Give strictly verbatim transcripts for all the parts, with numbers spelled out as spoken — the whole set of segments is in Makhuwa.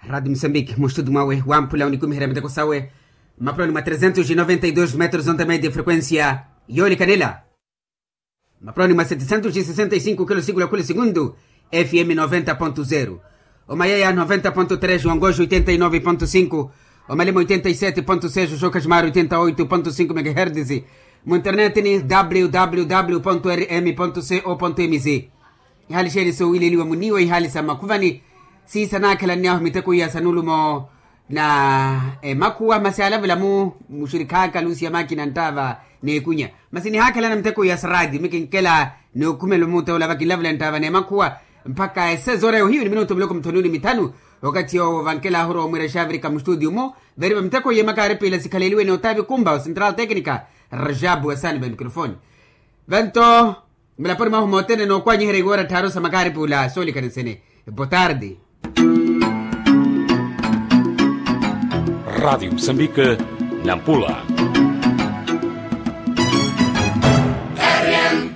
Radi musambiki mustutu mwawe wamphula onikumiherya miteko sawe, mmapuloni mwa tresentos e noventa e dos metros onta media e frekuensia yoolikanela, mmapuloni mwa setesentos e sesenta e sinku kilo siku la khula sikundu, fm noventa ponto zero, omayaya noventa ponto tres, wangoxo oitenta e nove ponto sinku, omalima oitenta e sete ponto seis, oxoka ximari oitenta e oito ponto sinku megahertisi, mu internetini www rm co mz. Ihaali xeeni soowileliwa muniiwa ihaali sa mmakhuvani, siisa naakhelani ahu miteko iya sa nulumo na emakhuwa masi alavula mu muxirikhaaka luusiya maakina nttaava n'ekunya. Masi nihaakhelana miteko iya sa raatiyo mikinkela n'okhumela omuuta ola vakinlavula nttaava n'emakhuwa, mpakha esezora ya ohiyu ni minutu miloko mithononi mithanu. Okathi yoowo vankelaahu rowa omwiira xavirika mustutiyu-mu, veriva miteko iya emakaaripila sikhaleliwe n'otaavi kumba wa central tecnica, rajabu wa sani va mikrofoni. Vanto mulaponi mwahu mothene nookwanyiherya iwoora tthaaru sa makaaripula soolikana nsene. Botardi. Radiyo musambike, nampula.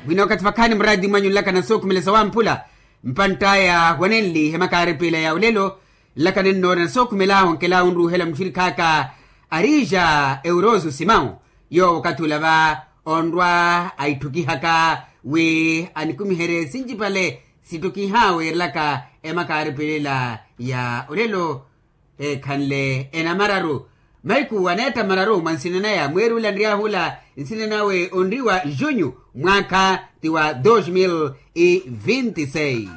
Mwina okathi vakhaani muraatiyo mwanyu nlakana sookhumela sawamphula, mpantt'aya wanenli emakaaripila ya olelo, nlakana ennoona sookhumela onkelaawo nruuhela muxirikhaaka, arija euroso simão. Yoowo okathi ula va onrwa aitthukiha-ka wi anikumiherye sincipale sittukiha weerelaka emakaaripilela ya olelo, ekhanle enamararu. Mahiku aneetta mararu mwa nsina naya mweeri ula nryahu ula, nsina nawe onriwa junyu, mwaakha ti wa dos mil e vinti seis.